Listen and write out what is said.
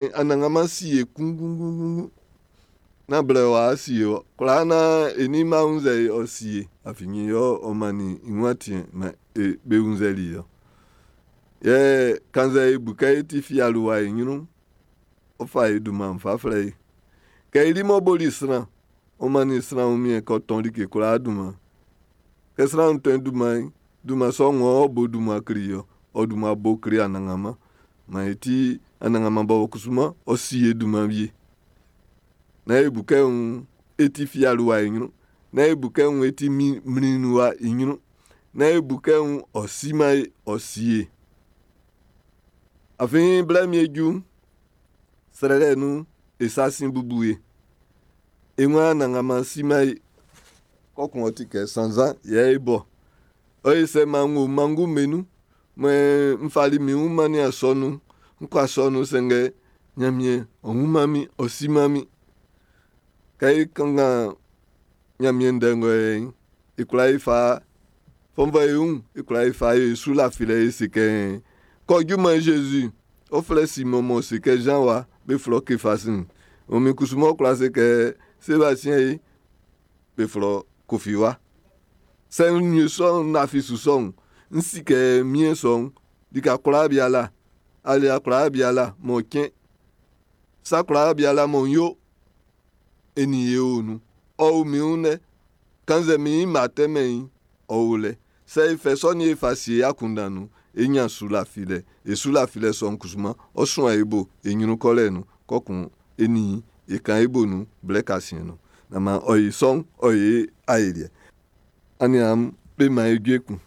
Anannganman si e kunngunngun. Nán blɛ w'a si e ɔ. Kwlaa naan e nin ma wunnzɛ e ɔ si e. Afin yɛ ɔ mannin i wun atin man e be wunnzɛli ɔ. Yɛ kannzɛ e bu kɛ e ti fialiwa i ɲrun'n, ɔ fa e dunman'n fa flɛ e. Kɛ i li m'ɔ boli sran, ɔ mannin sran wunmiɛn kɛ ɔ tɔn like kwlaa dunman. Kɛ sran'n tɔn dunman'n, dunman sɔ'n ɔ bo dunman kle ɔ, ɔ dunman bo kle Anannganman. Man e ti Anannganman bɔbɔ kusuman, ɔ si e dunman wie. Nán e bu kɛ wun e ti fialiwa i ɲrun. Nán e bu kɛ wun e ti mlinwa i ɲrun. Nán e bu kɛ wun ɔ siman e, ɔ si e. Afin blɛ mi e ju'n, srɛlɛ nun e sa sin bubu e. E waan Anannganman siman e. Kɔkun ɔ ti kɛ sannzan yɛ e bɔ. Ɔ ye sɛ man n wo manngu'm be nun. Mɔ n fali min wun mannin asɔnun'n, n kɔ asɔnun sanngɛ Ɲanmiɛn ɔ wunman min, ɔ siman min. Kɛ e kanngan Ɲanmiɛn ndɛ ngɔ yɛ'n, e kwla e fa fɔnvɔ e wun, e kwla e fa e su lafilɛ e se kɛ kɔ junman Zezi, ɔ flɛ Simɔn m'ɔ se kɛ Zan wa, be flɔ Kefasi'n. O min kusu m'ɔ kwla se kɛ Sebastien ye, be flɔ Kofi wa. Sɛ n yo sɔ'n, n lafi su sɔ'n, n si kɛ miɛn sɔ'n, lika kwlaa biala, alia kwlaa biala m'ɔ cɛn, sa kwlaa biala m'ɔ yo, e nin ye o nun. Ɔ o min wun lɛ. Kannzɛ min mma tɛmɛn i'n, ɔ o lɛ. Sɛ e fɛ sɔ'n e fa sie akunndan nun'n, e ɲan su lafilɛ. E su lafilɛ sɔ'n kusuman, ɔ suan e bo e ɲrun kɔlɛ nun. Kɔkun e nin e kan e bo nun blɛ kasiɛn nun. Naan maan ɔ yi sɔ'n, ɔ yi aeliɛ. Aniaan'm be man e jue kun.